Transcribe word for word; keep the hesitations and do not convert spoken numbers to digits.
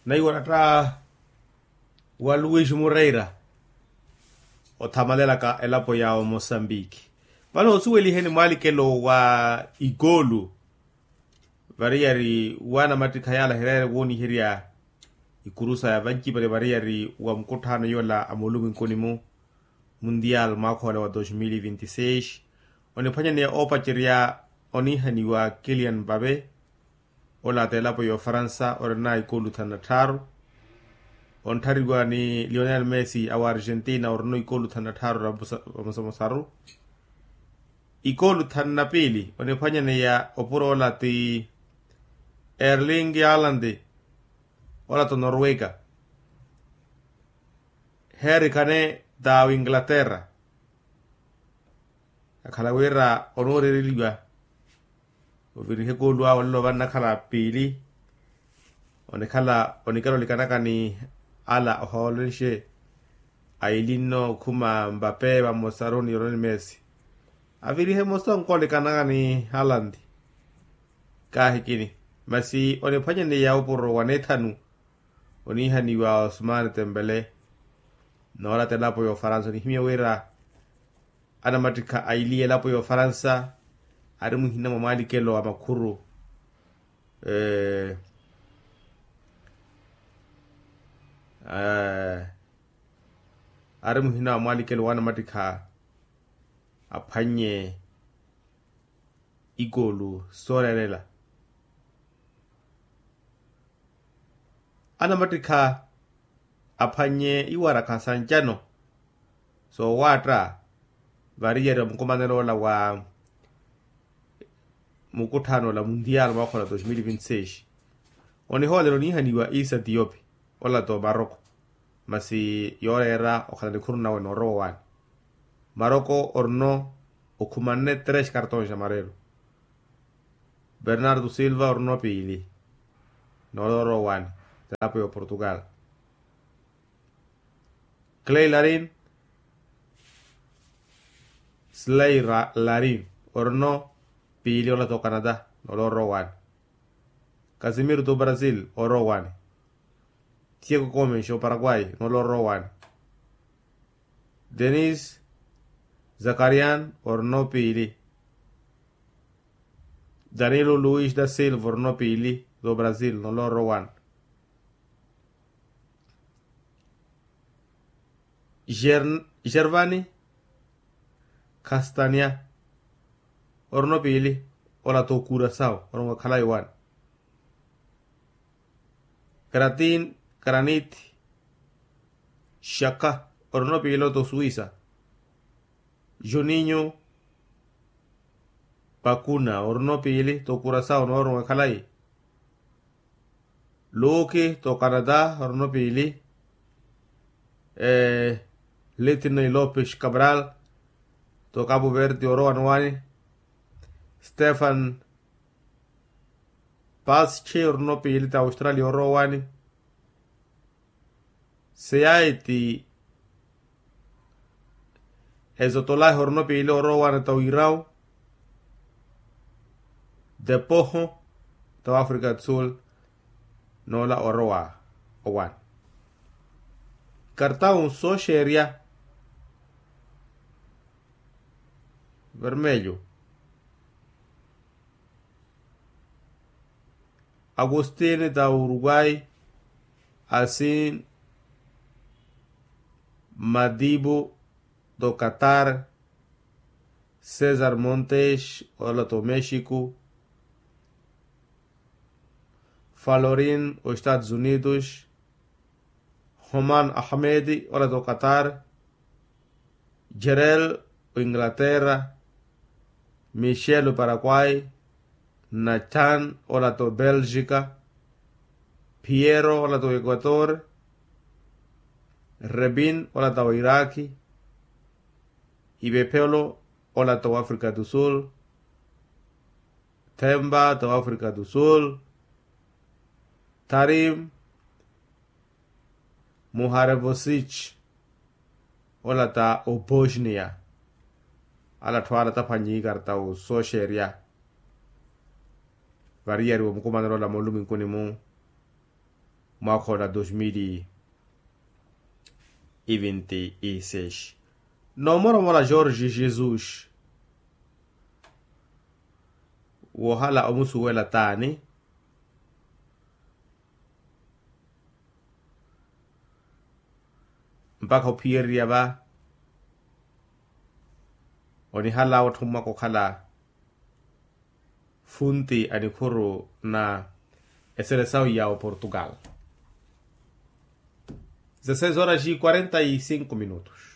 Naiwaratta wa luis moreira othamalela ka elapo ya omosambiki. Vano osuweliheni mwalikelo wa ikolu variyari wanamattikha yala hireere wooniherya ikurusa ya vancipale variyari wa mukutthano yola a mooluminkuni-mu mundial mwaakha ola wa dos mil vinti seis oniphwanyaneya oopacerya oniihaniwa kilian vave. Ola t'elapo ya ofaransa orina ikolu thanu na tthaaru. Ontthariwa ni lionel messi awa argentina orina ikolu thanu na tthaaru ra vamosamosaru. Ikolu thanu na piili oniphwanyaneya opuro ola ti erling alandi ola t'onorweka. Herikane t'awinglaterra akhala wira onoorereliwa ovirihe koolu awe olelo vannakhala piili. Onikhala onikela olikanaka ni ala oholenxe aili nno okhuma mbape vamosaru ni ronimesi avirihe mmosa onkolekanaka ni alandi. Kaahikini masi oniphwanyaneya opuro wa neethanu oniihaniwa osumani tempele. Noolata elapo ya ofaransa onihimya wira anamattikha aili elapo ya ofaransa ari muhina mwa mwalikelo a makhuru ari muhina wa mwalikelo wa anamattikha aphwannye ikolu sooreerela. Anamattikha aphwannye iwarakha sa ncano soowaatta variyari va mukumanelo ola wa mukutthano ola mundial mwaakha ola dos mil vinti seis. Onihoolelo oniihaniwa isa tiyopi ola t'omaroko masi yooreera okhala nikhuru nawe noorowa owaani. Maroko orino okhumanne tres cartons amarelo. Bernardo silva orino piili noorowa owaani. T'elapo ya oportugal. Clay larin slay larin orino piili ola t'ocanada noorowa owaani. Casimiro t'obrasil oorowa owaani. Thieko comes oparaguay nooloorowa owaani. Denis zakarian orino piili. Danilo luis da silva orino piili t'obrasil nooloorowa owaani. Gervani castania orino piili ola t'okurasao orongo khalayi owaani. Kratin kranit shaka orino piilo t'osuwisa. Juninho pakuna orino piili t'okurasao noorongo ekhalayi. Luki t'ocanada orino piili. Litney lopes cabral t'ocapo verde orowa nowaani. Stephan paschi orino piili t'australia orowa owaani. Seyaiti ezotolahi orino piili orowa owaani t'oirau. Depoho t'oafrica do sul. Noola orowa owaani. Kartau nsooxeerya vermelho. Agustin t'auruguay. Asin madibu t'ocatar. César montes ola t'omexico. Falorin oestados unidos. Homan ahmed ola t'ocatar. Jerel oinglaterra. Michel oparaguay. Nathan ola t'obelgica. Piero ola t'oequator. Rebin ola t'oiraki. Ibephelo ola t'oafrica do sul. Themba t'oafrica do sul. Tarim muharevosich ola ta obosnia. Ala atthu ala taphwannye ikarta osooxeerya variyari wa mukumanelo ola mooluminkuni-mu. mwaakha ola dos mil e vinte e seis. Noomoromora jorge jesus wohala omusuwela taani mpakha ophiyererya va onihala otthommwaka okhala funti a nikhuru na eselesawu ya oportugal. Dezesseis horas e quarenta e cinco minutos.